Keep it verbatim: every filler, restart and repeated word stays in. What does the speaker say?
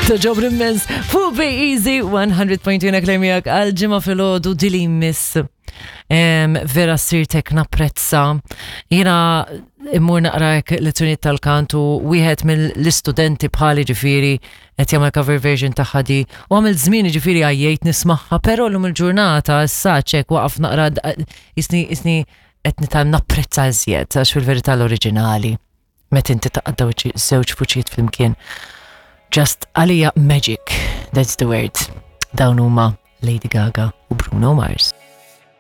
Togħġobni immens fuq Be Easy one hundred point two klemiak għal ġimgħa filgħodu dili miss. Em, vera sirtek napprezza. Jiena immur naqra hekk lezzjonijiet tal-kantu, wieħed mill-istudenti bħali ġifieri qed jagħmel cover version tagħha di u għamil żmien ġifieri għajjejt nismagħha, però llum il-ġurnata issa ċek waqaf naqra jisni jisni qed nitgħallem napprezza iżjed, għax fil-verità l-oriġinali meta inti taqaddaw żewġ vuċijiet flimkien, just għalija magic, that's the word. Dawn huma Lady Gaga u Bruno Mars.